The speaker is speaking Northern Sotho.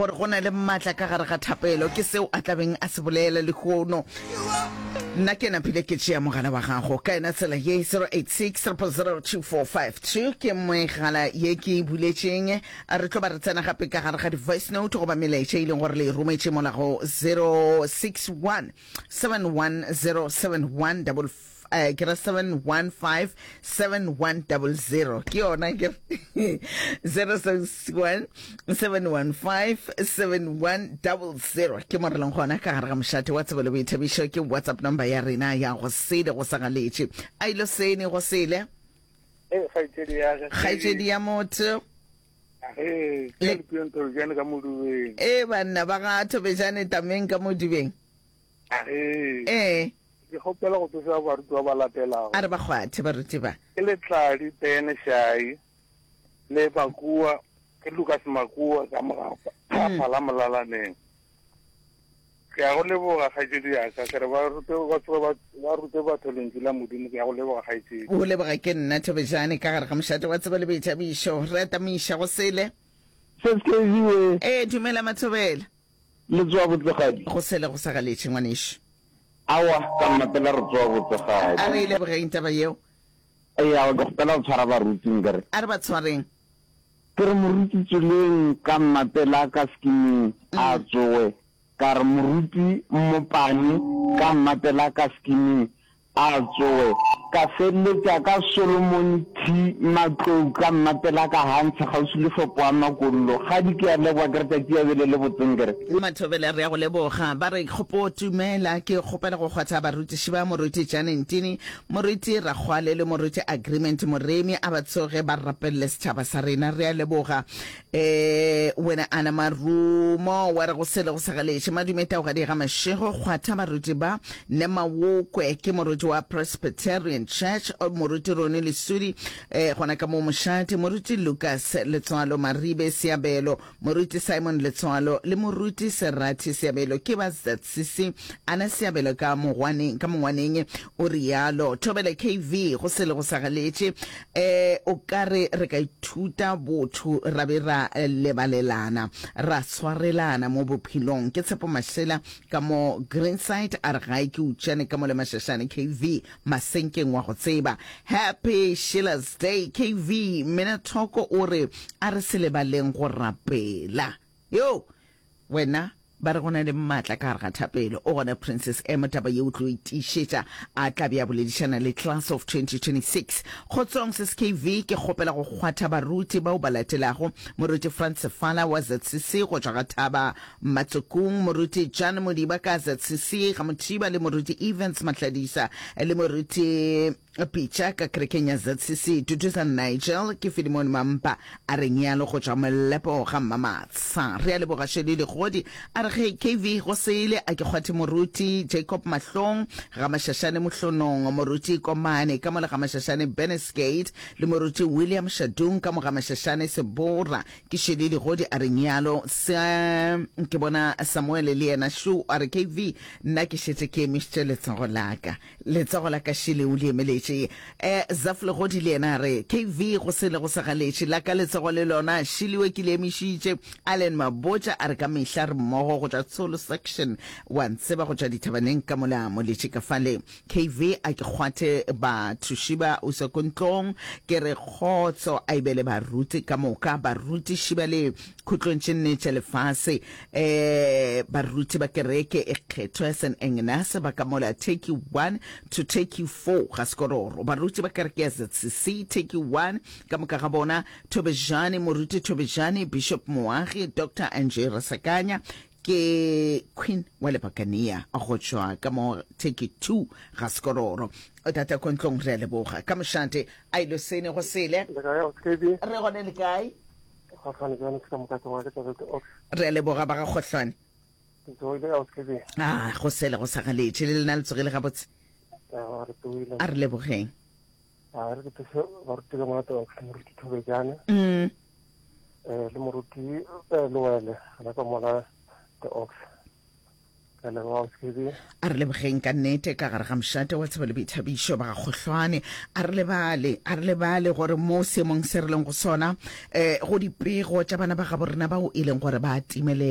Gore go na le maatla ka gare ga thapelo, ke seo a tla beng a se bolela lehono. Nna ke napile ke tšea mogala wa gago ka yona tsela ye, 086 000 2452 ke megala ye ke e buletšeng. Re tlo ba re tsena gape ka gare ga di-voice note goba melaetša e leng gore le e rometše mola go 061 710 71 eh, ke ra 715 7100 ke yona ke 061 715 7100 ke mo re leng gona ka gare ga mošate wa tsebo le boithabišo. Ke WhatsApp number ya rena ya go sele go sa galetše a ilo sene go sele. Ee, kgaetšedi ya ka. Kgaetšedi ya motho. Ee, ke le Thobejane ka Modubeng. Ee, banna ba ga Thobejane tameng ka Modubeng. Ee. Ee. Ke kgopela go tsoša baruti ba ba latelago. A re ba kgwathe baruti ba. Ke Letladi Ben Shai le Makua, ke Lucas Makua ka Mogapa, ga Phala Molalaneng. Ke a go leboga kgaetšedi ya ka, ke re ba rute ba tsoge ba ba rute batho lentšu la Modimo, ke a go leboga kgaetšedi. O leboga ke nna Thobejane ka gare ga mošate wa tsebo le boithabišo. Re atamiša go sele. Se se ke we. Ee, dumela Mathobela. Le tsoa botsegadi? Go sele go sa galetše, ngwanešu. Aowa, ka mmapela re tsoa botsegadi. A re e lebogeng taba yeo. Ee, aowa, ke kgopela go tshwara baruti nkere. A re ba tshwareng. Ke re moruti Tsoleng ka mmapela ka skiming a tsowe, ka re moruti Mmopane ka mmapela ka skiming A tsowe. Ka feleletša ka Solomon T. Matlou ka mmapela ka Hantsha kgauswi le shopo ya Makollo. Kgadi ke a leboga ke re tšatši ya bele le botse nkere. Mathobela re a go leboga. Ba re kgopo tumela ke kgopela go kgwatha barutiši ba Moruti Jane Ntini, Moruti Rakgwale le Moruti Agreement Moremi a ba tsoge ba rapelele setšhaba sa rena. Re a leboga. E, wena Ana Marumo, wa re go sele go sa galetše. Madume Taugadi ga Mashego, kgwatha baruti ba, ne Mawokwe, ke moruti wa Presbyterian Church, moruti Roni Lesudi, e, gona ka mo Mošate, moruti Lucas Letswalo Maribe Seabelo, moruti Simon Letswalo, le moruti Serati Seabelo, ke ba ZCC. Ana Seabelo ka mogwaneng, ka mongwaneng, o realo. Thobela KV, go sele go sa galetše. E, o ka re re ka ithuta botho ra be ra lebalelana, ra swarelana mo bophelong. Ke Tshepo Mashela ka mo Greenside a re gae ke Utšane ka mo le Mashashane KV Masenkeng wa go tseba. Happy Sheila's Day KV Mmina Thoko o re a re se lebaleng go rapela. Yo! Wena Ba re go na le maatla ka gare ga thapelo. O gona Princess M taba ye o tlo e tiišetša a tla be a boledišana le Class of 2026. Kgotsong Sis KV ke kgopela go kgwatha baruti bao ba latelago, Moruti Frans Sefala wa ZCC go tšwa ga Thaba Matsokung, Moruti Jan Modiba ka ZCC ga Mothiba le Moruti Evans Mahladisa le Moruti Pitša ka kerekeng ya ZCC, Duduza Nigel, ke Filimone Mampa a re nyalo go tšwa Molepo ga Mmamatsha. Re a leboga Shirley Legodi a re ge KV go sele a ke kgwathe Moruti Jacob Mahlong ga Mashashane Mohlonong, Moruti Komane ka mo le ga Mashashane Bennesgate le Moruti William Shadung ka mo ga Mashashane Sebora. Ke Shirley Legodi a re nyalo se ke bona Samuel le yena šo a re KV nna ke šetše ke emišitše letsogo la ka. Letsogo la ka šele o le emeletše. E, Zaf Legodi le yena a re, KV, go sele go sa galetše. La ka letsogo le lona šelewe ke le emišitše. Allen Mabotja a re ka mehla re mmogo go tšwa Tsholo Section. Wa ntseba go tšwa dithabaneng ka mola moletše ka fale. KV, a ke kgwathe bathuši ba usa ko ntlong. Ke re kgotso a e be le baruti ka moka, barutiši ba le khutlong tše nne tša lefase. E, baruti ba kereke e kgethwa ya St. Agnes ba ka mola Turkey 1 to Turkey 4 ga Sekororo. Baruti ba kereke ya ZCC Turkey 1 ka moka ga bona, Thobejane, Moruti Thobejane, Bishop Moagi, Doctor Angie Rasakanya, ke Queen wa Lebakania go tšwa ka mo Turkey 2 ga Sekororo. Tata Kontlong re a leboga. Ka mošate a ilo sene go sele. Le kae, Ausi Re gone le kae? Kgohlwane bjane ke ka moka ke ngwa ke tšabete ox. Re a leboga ba ga Kgohlwane. Ke tsoile a ke be. Ah, go sele go sa galetše le lena le tsogile gabotse. A re tsoile. A re lebogeng. A re ke thuse baruti ka monate ox moruti Thobejane. Mm. Eh le moruti eh Loele gana ka mola the ox. A re lebogeng ka nnete ka gare ga mošate wa tsebo le boithabišo ba ga Kgohlwane. A re lebale, a re lebale gore mo seemong se re leng go sona, um go dipego tša bana ba gabo rena bao e leng gore ba timelela.